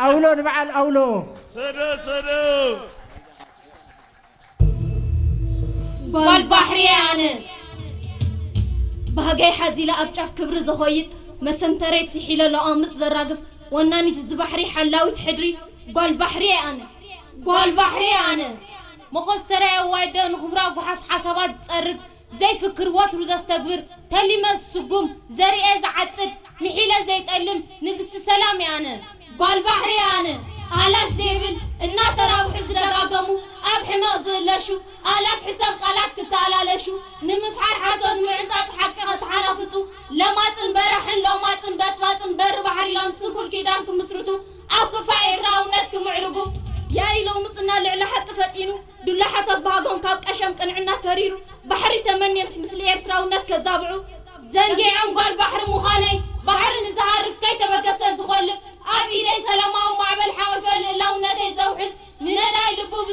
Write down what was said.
ኣውሎ ንበዓል ኣውሎ። ሰደ ሰደ። ጓል ባሕሪ ኣነ። ባህገይ ሓዚለ ኣብ ጫፍ ክብሪ ዝኾይጥ፣ መሰንተረይ ስሒለ ለቋምጽ ዘራግፍ፣ ወናኒት እዚ ባሕሪ ሓላዊት ሕድሪ፣ ጓል ባሕሪ ኣነ። ጓል ባሕሪ ኣነ። መኾስተራይ ኣዋይደ ንኽብራ ጓሓፍ ሓሳባት ዝጸርግ፣ ዘይፍክር ወትሩ ዘስተግብር፣ ተሊመ ዝስጉም፣ ዘርኤ ዝዓጽድ፣ ምሒለ ዘይጠልም፣ ንግስቲ ሰላም እየ ኣነ። ጓል ባሕሪ ኣነ። ኣላሽ ዘይብል እናተራብሑ ዝደጋገሙ፣ ኣብ ሕመቕ ዝእለሹ፣ ኣላፍ ሕሰም ቃላት ክተኣላለሹ፣ ንምፍሓር ሓሶት ምዕንጻጽ ሓቂ ከተሓናፍጹ፣ ለማጽን በራሕን ሎማጽን በጥባጽን በሪ ባሕሪ ኢሎም ስንኩል ኪዳን ክምስርቱ፣ ኣብ ክፋ ኤርትራውነት ክምዕርጉ፣ ያኢ ሎምጽና ልዕሊ ሓቂ ፈጢኑ፣ ዱላ ሓሶት ባህጎም ካብ ቀሸም ቅንዕና ተሪሩ፣ ባሕሪ ተመንየምስ ምስሊ ኤርትራውነት ከዛብዑ፣ ዘንጊዖም ጓል ባሕሪ ምዃነይ፣ ባሕሪ ንዝሃርፍ ከይተበገሰ ዝኾልፍ፣ ኣብ ኢደይ ሰላማዊ ማዕበል ሓወፈ ልእላውነተይ ዘውሕስ፣ ንነዳይ ልቡ